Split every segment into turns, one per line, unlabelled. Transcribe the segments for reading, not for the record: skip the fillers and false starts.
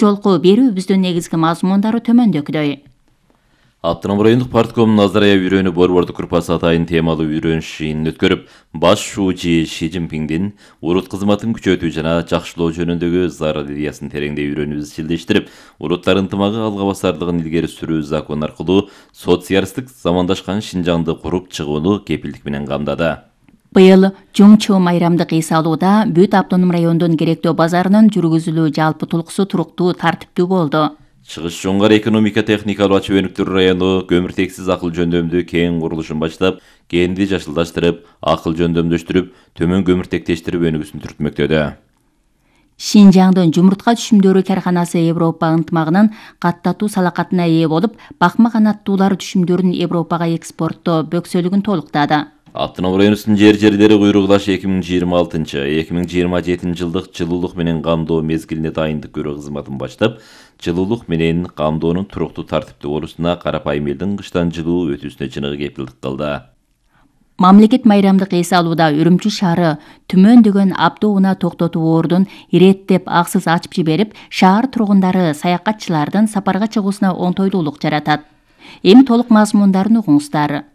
Жолку берүүбүздүн негизги мазмундары төмөндөгүдөй.
Автоном райондук партком Назарая үйрөнүү борбордук группасы атайын темалуу үйрөнүш жыйынын өткөрүп, баш шууучу Ши Цзиньпиндин урут кызматын күчөтүү жана жакшылоо жөнүндөгү зарыл идеясын тереңдей үйрөнүүбү изчилдештирип, уруттар ынтымагы алга басарлыгын илгери сүрүү закон аркылуу социалисттик замандашкан Шинжаңды куруп чыгууну кепилдик менен камдады.
Быйыл Жумчу майрамдык эс алууда бүт автоном райондун керектөө базарынын жүргүзүлүү жалпы тулкусу туруктуу, тартиптүү болду.
Чыгыш Жоңгар экономика техникалуу ачуу өнүктүрүү району көмүртексиз акыл жөндөмдүү кең курулушун баштап, кенди жашылдаштырып, акыл жөндөмдөштүрүп, төмөн көмүртектештирип өнүгүүсүн түртмөктөдө.
Шинжаңдын жумуртка түшүмдөрү карканасы Европа ынтымагынын каттатуу салакатына ээ болуп, бакма канаттуулар түшүмдөрүн Европага экспорттоо бөксөлүгүн толуктады.
Автоном районубуздун жер-жерлери куйругулаш 2026-2027 жылдык жылуулук менен камдоо мезгилине дайындык көрүү кызматын баштап, жылуулук менен камдоонун туруктуу тартиптүү болуусуна карапайым элдин кыштан жылуу өтүүсүнө чыныгы кепилдик кылды.
Мамлекет майрамдык эс алууда Үрүмчү шаары түмөндөгөн автоунаа токтотуу ордун иреттеп аксыз ачып жиберип, шаар тургундары саякатчылардын сапарга чыгуусуна оңтойлуулук жаратат. Эми толук мазмундарын угуңуздар.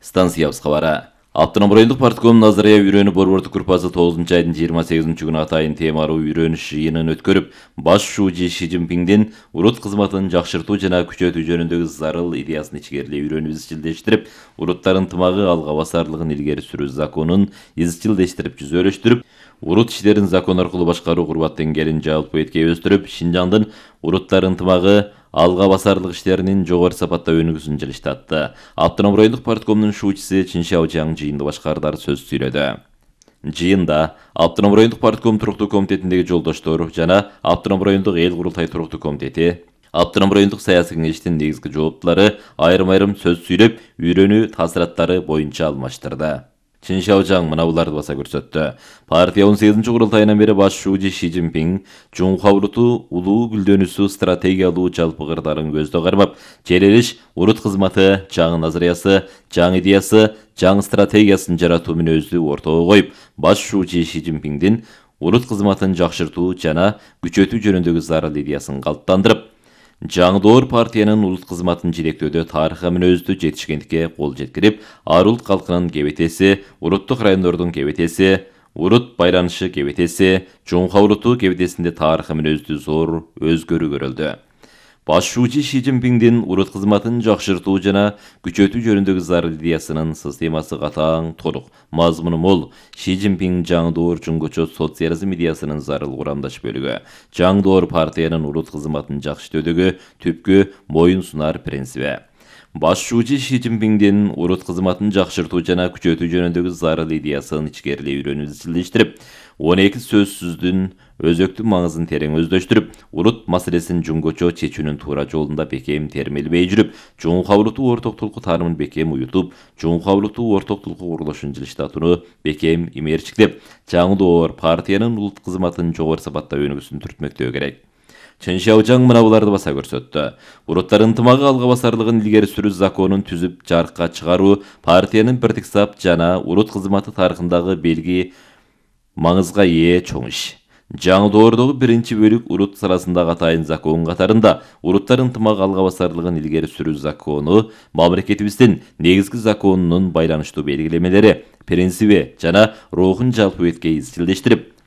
Станциябыз кабары. Автоном райондук партком Назарая үйрөнүү борбордук группасы 9 айдын 28 күнү атайын темалуу үйрөнүш жыйынын өткөрүп, баш шууучу Ши Цзиньпиндин урут кызматын жакшыртуу жана күчөтүү жөнүндөгү зарыл идеясын ичкерилей үйрөнүп изчилдештирип, уруттар ынтымагы алга басарлыгын илгери сүрүү законун изчилдештирип жүзөлөштүрүп, урут иштерин закон аркылуу башкаруу курбат деңгээлин жалпы эткей өстүрүп, Шинжаңдын уруттар ынтымагы алга басарлык иштеринин жогору сапатта өнүгүүсүн жылыштатты. Автоном райондук парткомдун шуучусу Чин Шаожаң жыйынды башкардар сөз сүйлөдү. Жыйында Автоном райондук партком туруктуу комитетиндеги жолдоштор жана Автоном райондук эл курултай туруктуу комитети, Автоном райондук саясий кеңештин негизги жооптулары айрым-айрым сөз сүйлөп, үйрөнүү таасираттары боюнча алмаштырды. Чин Шаожаң мына буларды баса көрсөттү. Партия 18 курултайынан бери баш шууучу Ши Цзиньпин Чуңхуа уруту улуу гүлдөнүүсү стратегиялуу жалпы кырдарын көздө кармап, желелиш урут кызматы, жаңы назариясы, жаңы идеясы, жаңы стратегиясын жаратуу мүнөздү ортого коюп, баш шууучу Ши Цзиньпиндин урут кызматын жакшыртуу жана күчөтүү жөнүндөгү зарыл идеясын калыптандырып, жаңы доор партиянын улут кызматын жетектөөдө тарыха мүнөздүү жетишкендикке кол жеткирип, ар улут калкынын кебетеси, уруттук райондордун кебетеси, урут байланышы кебетеси, Чуңхуа уруту кебетесинде тарыха мүнөздүү зор өзгөрүү көрүлдү. Баш шуучу Ши Цзиньпиндин урут кызматын жакшыртуу жана күчөтүү жөнүндөгү зарыл идеясынын системасы катаң, толук, мазмуну мол. Ши Цзиньпин жаңы доор жуңгучу социализм идеясынын зарыл курамдаш бөлүгү. Жаңы доор партиянын урут кызматын жакшыртуудагы түпкү моюн сунар принциби. Баш шуучу Ши Цзиньпиндин урут кызматын жакшыртуу жана күчөтүү жөнүндөгү зарыл идеясын ичкерилей үйрөнүп изчилдештирип, 12 сөзсүздүн өзөктүк маңызын терең өздөштүрүп, урут маселесин жуңгучу чечүүнүн туура жолунда бекем термелбей жүрүп, Чуңхуа уруту ортоктулку таарымын бекем уютуп, Чуңхуа уруту ортоктулку курулушун жылыштатууну бекем имерчиктеп, жаңы доор партиянын улут кызматын жогору сапатта өнүгүүсүн түртмөктөө керек. Чин Шаожаң мына буларды баса көрсөттү. Уруттар ынтымагы алга басарлыгын илгери сүрүү законун түзүп жарыкка чыгаруу партиянын бирдик сап жана урут кызматы тарыхындагы белги маңызга ээ чоң иш. Жаңы доордогу биринчи бөлүк урут саласындагы атайын закон катарында уруттар ынтымагы алга басарлыгын илгери сүрүү закону мамлекетибиздин негизги законунун байланыштуу белгилемелери, принциби жана рухун жалпы эткей изчилдештирип,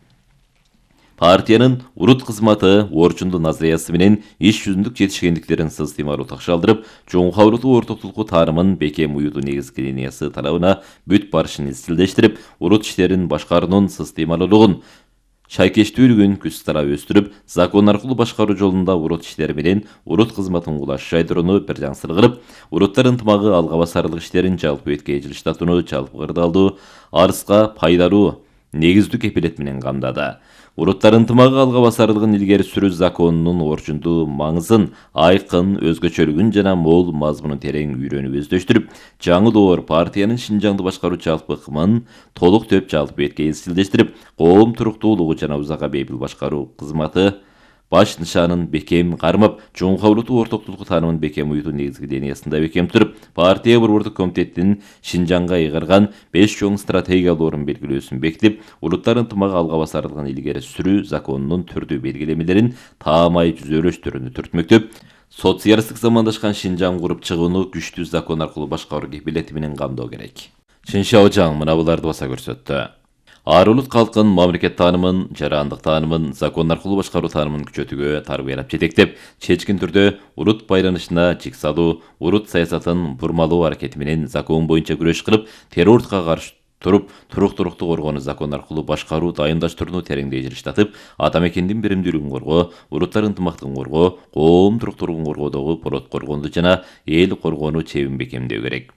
партиянын урут кызматы орчундуу назариясы менен иш жүзүндүк жетишкендиктерин системалуу такшалдырып, Чуңхуа уруту ортоктулку таарымын бекем уютуу негизги линиясы талабына бүт барышын изчилдештирип, урут иштерин башкаруунун системалуулугун, шайкештүүлүгүн күч тарап өстүрүп, закон аркылуу башкаруу жолунда урут иштери менен урут кызматын кулаш жайдырууну бир жаңсыр кылып, уруттар ынтымагы алга басарлык иштерин жалпы эткей жылыштатууну жалпы кырдаалдуу, арыска пайдалуу негиздүү кепилет менен камдады. Уруттар ынтымагы алга басарлыгын илгери сүрүү законунун орчундуу маңызын, айкын, өзгөчөлүгүн жана мол мазмунун терең үйрөнүп өздөштүрүп, жаңы доор партиянын Шинжаңды башкаруу жалпы ыкмын толук төп жалпы эткей изчилдештирип, коом туруктуулугу жана узакка бейпил башкаруу кызматы баш нышанын бекем кармап, чоңка улуттуу ортоктулук таанымын бекем уютуу негизги дениясында бекем туруп, партия борбордук комитетинин Шинжаңга ыйгарган 5 чоң стратегиялуу орун белгилөөсүн бекитип, улуттар ынтымагы алга басарлыгын илгери сүрүү законунун түрдүү белгилемелерин таамай жүзөлөштүрүүнү түртмөктөп, социалисттик замандашкан Шинжаң куруп чыгууну күчтүү закон аркылуу башкаруу кепилети менен камдоо керек. Чин Шаожаң мына буларды баса көрсөттү. Ар улут калкын мамлекет таанымын, жарандык таанымын, закон аркылуу башкаруу таанымын күчөтүүгө тарбиялап жетектеп, чечкин түрдө улут байланышына жик салуу, улут саясатын бурмалоо аракети менен закон боюнча күрөш кылып, террордукка каршы туруп, туруктуулукту коргоону закон аркылуу башкаруу дайындаштырууну тереңдей жылыштатып, ата мекендин биримдүүлүгүн коргоо, улуттар ынтымактыгын коргоо, коом туруктуулугун коргоодогу болот коргоону жана эл коргоону чебин бекемдөө керек.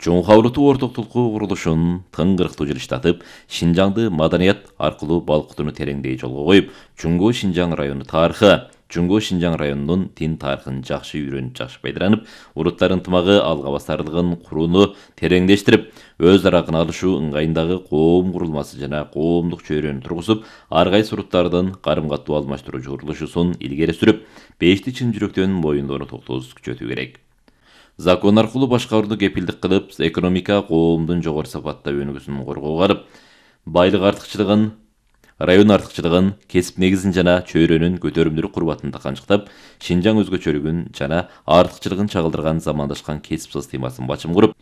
Чоңка улуттуу ортоктулукту курулушун тыңгырыктуу жылыштатып, Шинжаңды маданият аркылуу балкытууну тереңдей жолго коюп, Чуңгу Шинжаң району тарыхы, Чуңгу Шинжаң районунун тин тарыхын жакшы үйрөнүп, жакшы пайдаланып, улуттар ынтымагы алга басарлыгын курууну тереңдештирип, өз ара алышуу ыңгайындагы коом курулмасы жана коомдук чөйрөнү тургузуп, ар кайсы улуттардын карым-катуу алмаштыруучу курулушусун илгери сүрүп, бешти чын жүрөктөн моюндоону токтоосуз күчөтүү керек. Закон аркылуу башкарууну кепилдик кылып, экономика коомдун жогору сапатта өнүгүүсүн коргоого алып, байлык артыкчылыгын, район артыкчылыгын, кесип негизин жана чөйрөнүн көтөрүмдүүлүк курбатын канчыктап, Шинжаң өзгөчөлүгүн жана артыкчылыгын чагылдырган замандашкан кесип системасын бачым куруп,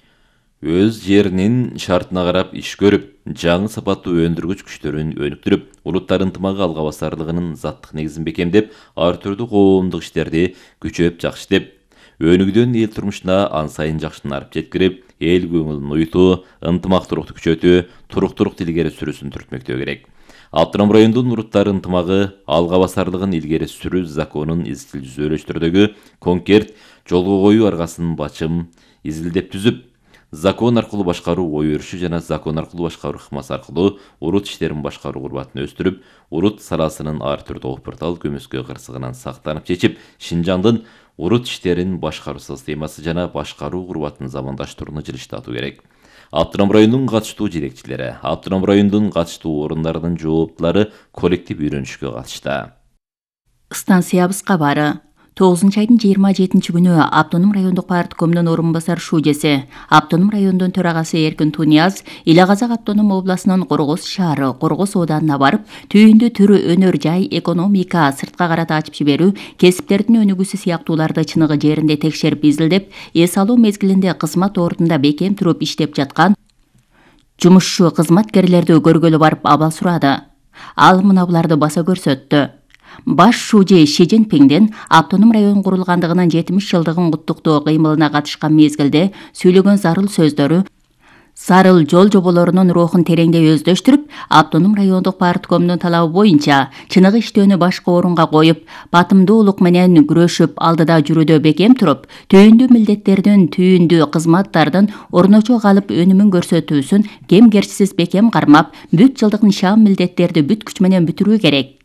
өз жеринин шартына карап иш көрүп, жаңы сапаттуу өндүргүч күчтөрүн өнүктүрүп, улуттар ынтымагы алга басарлыгынын заттык негизин бекемдеп, ар түрдүү коомдук иштерди күчөп жакшытып, өнүгүүдөн эл турмушуна ан сайын жакшынарып жеткирип, эл көңүлүн уютуу, ынтымактуулукту күчөтүү, туруктуулукту илгери сүрүүсүн түртмөктөө керек. Автоном райондун улуттар ынтымагы алга басарлыгын илгери сүрүү законун изчил жүзөлөштүрүүдөгү конкрет жолго коюу аргасын бачым изилдеп түзүп, закон аркылуу башкаруу ой өрүшү жана закон аркылуу башкаруу ыкмасы аркылуу улут иштерин башкаруу курбатын өстүрүп, улут саласынын ар түрдүү опуртал көмөскө кырсыгынан сактанып чечип, Шинжаңдын улут иштерин башкаруу системасы жана башкаруу курбатын замандаштырууну жылыштатуу керек. Автоном райондун катыштуу жетекчилери, автоном райондун катыштуу орундарынын жооптулары коллектив үйрөнүшкө катышты.
Станциябыз кабары 9-айдын 27 күнү Автоном райондук парткомдун орун басар шужеси, Автоном райондун төрагасы Эркин Тунияз Ила Казак автоном областынын Коргоз шаары, Коргоз ооданына барып, түйүндү түрү өнөр жай, экономика, сыртка карата ачып жиберүү, кесиптердин өнүгүүсү сыяктууларды чыныгы жеринде текшерип изилдеп, эс алуу мезгилинде кызмат ордунда бекем туруп иштеп жаткан жумушчу кызматкерлерди көргөлү барып абал сурады. Ал мына буларды баса көрсөттү. Баш шужи Ши Цзиньпиңдин автоном район курулгандыгынын 70 жылдыгын куттуктоо кыймылына катышкан мезгилде сүйлөгөн зарыл сөздөрү, зарыл жол жоболорунун рухун тереңдей өздөштүрүп, автоном райондук парткомдун талабы боюнча чыныгы иштөөнү башкы орунга коюп, батымдуулук менен күрөшүп, алдыда жүрүүдө бекем туруп, түйүндүү милдеттердин, түйүндүү кызматтардын орночо калып өнүмүн көрсөтүүсүн кемгерчисиз бекем кармап, бүт жылдык нишан милдеттерди бүт күч менен бүтүрүү керек.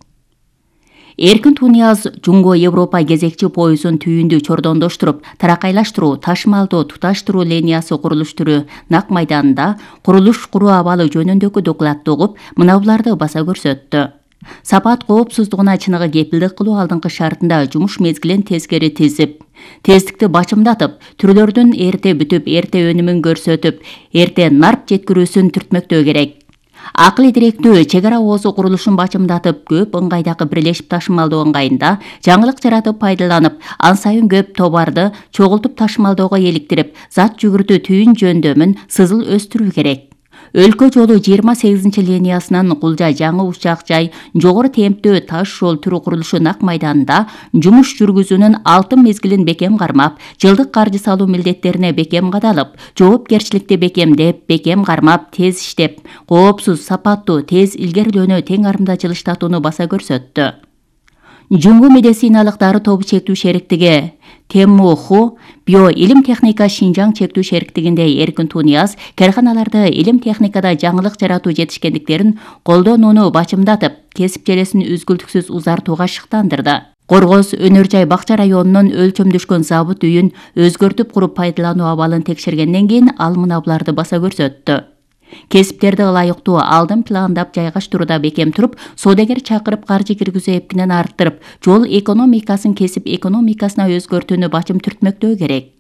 Эркин Тунияз Жуңго Европа кезекчи поюзун түйүндү чордондоштуруп, таракайлаштыруу, ташмалдоо, туташтыруу линиясы курулуштуруу нак майданында курулуш куруу абалы жөнүндөгү докладты угуп, мына буларды баса көрсөттү. Сапат коопсуздугуна чыныгы кепилдик кылуу алдыңкы шартында жумуш мезгилин тескери тизип, тездикти бачымдатып, түрлөрдүн эрте бүтүп, эрте өнүмүн көрсөтүп, эрте нарп жеткирүүсүн түртмөктөө керек. Акыл идиректүү чек ара оозу курулушун бачымдатып, көп ыңгайдагы бирлешип ташымалдоо ыңгайында жаңылык жаратып пайдаланып, ан сайын көп товарды чогултуп ташымалdoого иликтирип, зат жүгүртүү түйүн жөндөмүн сызыл өстүрүү керек. Өлкө жолу 28 линиясынан Кулжа жаңы учак жай жогору темптүү таш жол түрү курулушу нак майданында жумуш жүргүзүүнүн алтын мезгилин бекем кармап, жылдык каржы салуу милдеттерине бекем кадалып, жоопкерчиликти бекемдеп, бекем кармап, тез иштеп, коопсуз, сапаттуу, тез илгерилөөнү тең арымда жылыштатууну баса көрсөттү. Жуңгу медициналык дары тобу чектүү шериктиги ТМОХУ Био илим техника Шинжаң чектүү шериктигинде Эркин Тунияз карханаларды илим техникада жаңылык жаратуу жетишкендиктерин колдонууну бачымдатып, кесип желесин үзгүлтүксүз узартууга шыктандырды. Коргоз өнөр жай бакча районунун өлчөмдөшкөн забыт үйүн өзгөртүп куруп пайдалануу абалын текшергенден кийин ал мына буларды баса көрсөттү. Кесиптерди ылайыктуу алдын пландап жайгаштырууда бекем туруп, соодагер чакырып каржы киргизүү эпкинен арттырып, жол экономикасын кесип экономикасына өзгөртүүнү бачым түртмөктөө керек.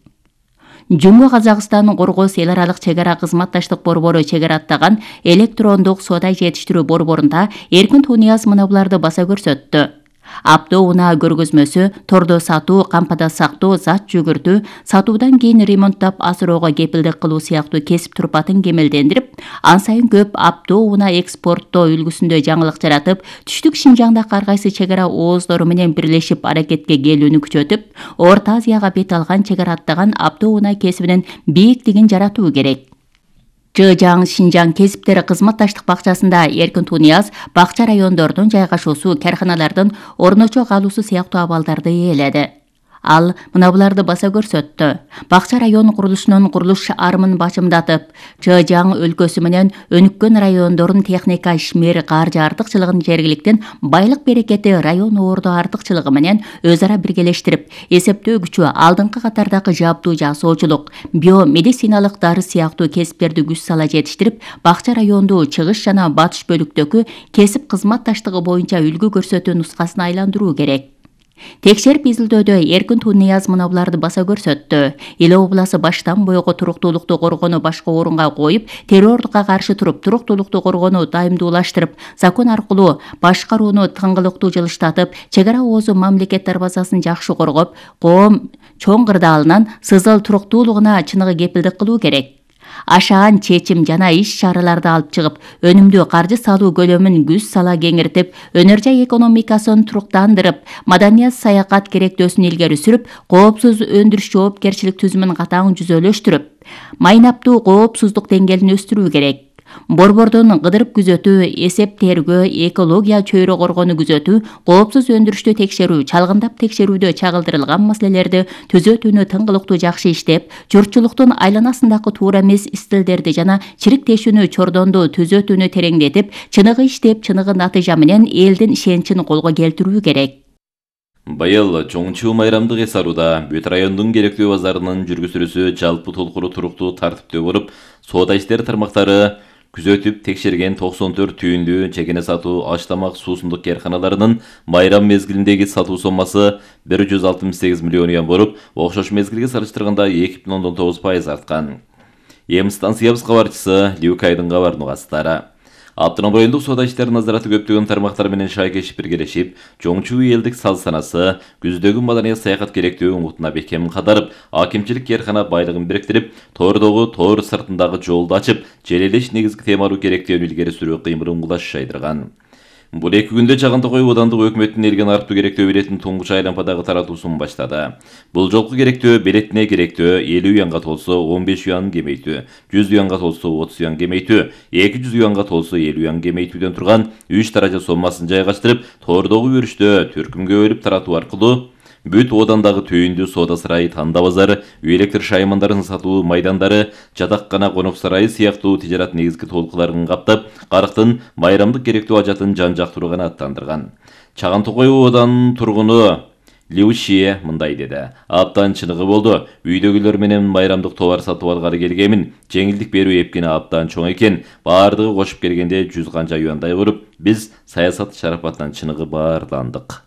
Жумго Казакстан Коргоз эл аралык чек ара кызматташтык борбору чегара аттаган электрондук соода жетиштирүү борборунда Эркин Тунияз мына буларды баса көрсөттү. Апто унаа көргөзмөсү тордо сатуу, кампада сактоо, зат жүгүртүү, сатуудан кийин ремонттап асыроого кепилдик кылуу сыяктуу кесип турпатын кемелдендирип, ан сайын көп апто унаа экспорттоо үлгүсүндө жаңылык жаратып, түштүк Шинжаңдагы ар кайсы чек ара ооздору менен бирлешип аракетке келүүнү күчөтүп, Орто Азияга бет алган чек ара аттаган апто унаа кесибинин бийиктигин жаратуу керек. Чыжаң Шинжаң кесиптери кызматташтык бакчасында Эркин Тунияз бакча райондордун жайгашуусу, карханалардын орночо калуусу сыяктуу абалдарды ээледи. Ал мына буларды баса көрсөттү. Бакча район курулушунун курулуш арымын бачымдатып, Чыжаң өлкөсү менен өнүккөн райондордун техника ишмер каржы артыкчылыгын жергиликтин байлык берекети район ордо артыкчылыгы менен өз ара биргелештирип, эсептөө күчү, алдыңкы катардагы жабдуу жасоочулук, биомедициналык дары сыяктуу кесиптерди күч сала жетиштирип, бакча районду чыгыш жана батыш бөлүктөгү кесип кызматташтыгы боюнча үлгү көрсөтүү нускасына айландыруу керек. Текшерип изилдөөдө Эркин Тунияз мына буларды баса көрсөттү. Эл обласы баштан бойго туруктуулукту коргоону башкы орунга коюп, террордукка каршы туруп, туруктуулукту коргоону дайымдуулаштырып, закон аркылуу башкарууну тыңгылыктуу жылыштатып, чек ара оозу мамлекет дарбазасын жакшы коргоп, коом чоң кырдаалынан сызыл туруктуулугуна чыныгы кепилдик кылуу керек. Ашаан чечим жана иш-чараларды алып чыгып, өнүмдүү каржы салуу көлөмүн күч сала кеңиртип, өнөр жай экономикасын туруктандырып, маданият саякат керектөөсүн илгери сүрүп, коопсуз өндүрүш жоопкерчилик түзүмүн катаң жүзөлөштүрүп, майнаптуу коопсуздук деңгээлин өстүрүү керек. Борбордун кыдырып күзөтүү, эсеп тергөө, экология чөйрө коргоону күзөтүү, коопсуз өндүрүштү текшерүү, чалгындап текшерүүдө чагылдырылган маселелерди түзөтүүнү тыңгылыктуу жакшы иштеп, журтчулуктун айланасындагы туура эмес стилдерди жана чириктешүүнү чордонду түзөтүүнү тереңдетип, чыныгы иштеп, чыныгы натыйжа менен элдин ишеничин колго келтирүү керек.
Быйыл чоңчу майрамдык эс алууда бүт райондун керектүү базарынын жүргүзүүсү жалпы толкуру туруктуу тартиптүү болуп, соода иштери тармактары күзөтүп текшерген 94 түйүндүү чекене сатуу аш-тамак суусундук кээрканаларынын майрам мезгилиндеги сатуу соммасы 168 миллион юан болуп, окшош мезгилге салыштырганда 2,9% арткан. Эми станциябыз кабарчысы Любкайдын кабарын угасыздар. Автоном райондук соода иштери назараты көптөгөн тармактар менен шайкешип биргелешип, чоңчу элдик сал санасы, күздөгү маданият саякат керектүү угутуна бекем кадарып, акимчилик кээркана байлыгын бириктирип, тоордогу тоор сыртындагы жолду ачып, желелеш негизги темалуу керектөөнү илгери сүрүү кыймылын кулаш жайдырган. Бул 2 күндө Чагантокой аудандык өкмөттүн элген арттуу керектөө билетин туңгуч айлампадагы таратуусун баштады. Бул жолку керектөө билетине керектөө 50 юанга толсо 15 юан кемейтүү, 100 юанга толсо 30 юан кемейтүү, 200 юанга толсо 50 юан кемейтүүдөн турган 3 даража соммасын жайгаштырып, тоордогу өрүштө түркүмгө бөлүп таратуу аркылуу бүт оодандагы түйүндүү соода сарайы, танда базары, үй электр шаймандарын сатуу майдандары, жатаккана, конок сарайы сыяктуу тижарат негизги толкуларын каптап, карыктын майрамдык керектүү ажатын жан-жактуу канааттандырган. Чагантокой ооданынын тургуну Леушие мындай деди. Аптан чыныгы болду. Үйдөгүлөр менен майрамдык товар сатып алгары келгемин. Жеңилдик берүү эпкини аптан чоң экен. Баардыгы кошуп келгенде 100 канча юандай болуп, биз саясат шарапатынан чыныгы баарландык.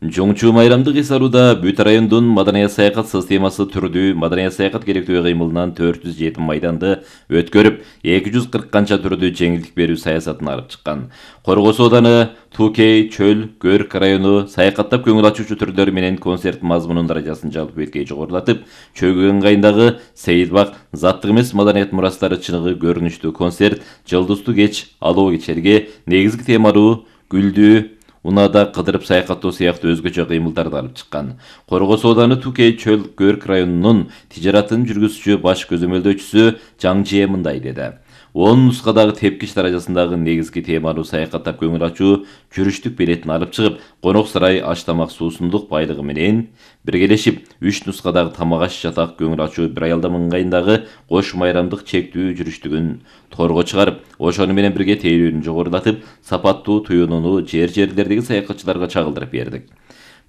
Чоңчу майрамдык эс алууда бүт райондун маданият саякат системасы түрдүү маданият саякат керектөө кыймылынан 407 майданды өткөрүп, 240 канча түрдүү жеңилдик берүү саясатын алып чыккан. Коргоз ауданы, Тукей, Чөл, Көрк району саякаттап көңүл ачуучу түрлөр менен концерт мазмунунун даражасын жалпы беткей жогорулатып, Чөгөн кайындагы Сейитбак заттык эмес маданият мурастары чыныгы көрүнүштүү концерт, жылдыздуу кеч, алоо кечерге негизги темалуу гүлдүү унаада кыдырып саякаттоо сыяктуу өзгөчө кыймылдарды алып чыккан. Коргоз ауданы Тукей, Чөл, Көрк районунун тижаратын жүргүзүүчү баш көзөмөлдөөчүсү Жаңжие мындай деди. 10 нускадагы тепкич даражасындагы негизги темалуу саякаттап көңүл ачуу жүрүштүк билетин алып чыгып, конок сарай аш-тамак суусундук байлыгы менен биргелешип, 3 нускадагы тамак аш жатак көңүл ачуу бир айылдам ыңгайындагы кош майрамдык чектүү жүрүштүгүн торго чыгарып, ошону менен бирге тейлөөнү жогорулатып, сапаттуу туюнууну жерлердеги саякатчыларга чагылдырып бердик.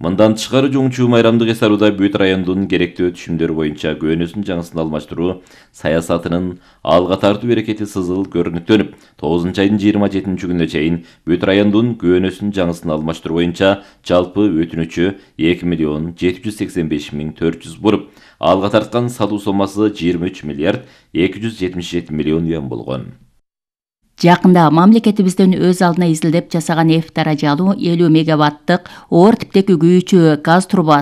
Мындан тышкары Жоңчу майрамдык эс алууда бүт райондун керектүү түшүмдөрү боюнча көөнөсүн жаңысын алмаштыруу саясатынын алга тартуу аракети сызыл көрүнүктөнүп, 9 айдын 27 күнүнө чейин бүт райондун көөнөсүн жаңысын алмаштыруу боюнча жалпы өтүнүчү 2.785.400 болуп, алга тарткан салуу сомасы 23.277 миллион болгон.
Жакында мамлекетибизден өз алдына изилдеп жасаган F даражалуу 50 мегаваттык оор типтеги күйүүчү газ трубасы